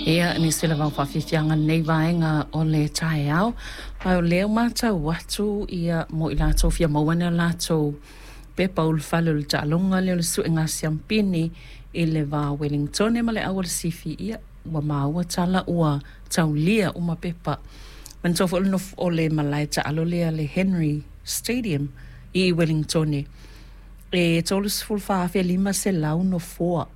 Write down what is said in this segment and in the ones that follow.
Ia, nisi lava o faafiafiaga lenei vaega o le taeao. Ma o lea ua matau atu ia mo i latou fia maua ni a latou pepa ulufale o le taaloga lea o le suega siampini i le va o Ueligitone ma le au a le Sifi, ia ua maua tala ua taulia uma pepa. Manatua foi o le malae taalo lea le Henry Stadium i Ueligitone, e 34,500 nofoa.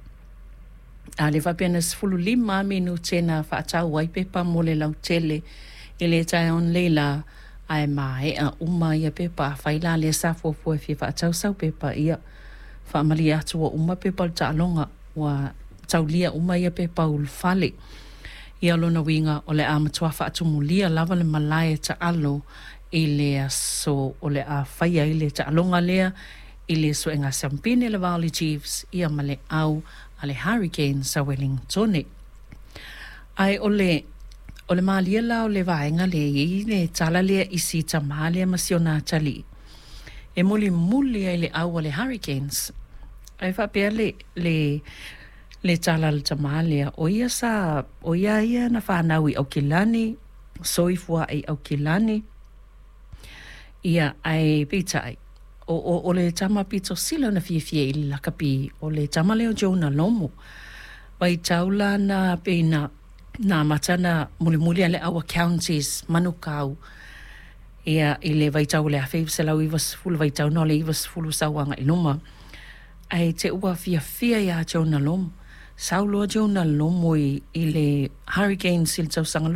A lea faapea na 15 lava minute na faatau ai pepa mo le lautele i le taeao nei lā, ae maea uma ia pepa. Afai la lea sa fuafua e fia faatau sau pepa, ia faamalie atu ua uma pepa o le taaloga, ua taulia uma ia pepa ulufale. Ia o lona uiga o le a matua faatumulia lava le malae taalo i le aso o le a faia ai le taaloga lea i le suega siampini le va o le Chiefs ia ma le au a le Hurricanes a Ueligitone. Ae o le o le malie la o le vaega lea e i ai le tala lea i si tamā lea ma si ona atalii e mulimuli ai i le au a le Hurricanes. Ae faapea le le le tala a le tamā lea, o ia sa o ia ia na fanau i Aukilani, soifua ae i Aukilani, ia ae peitai, o, o, o le tama pito sili ona fiafia i le lakapi, o le tama lea o Jonah Lomu. Vaitau la na pei na na amata ona mulimuli lava le au a Counties Manukau ia i le vaitau o le 1990, vaitau na o le 90 sau agai i luma. Ae te i ua fiafia ia Jonah Lomu. Sau loa Jonah Lomu i le Hurricanes i le tausaga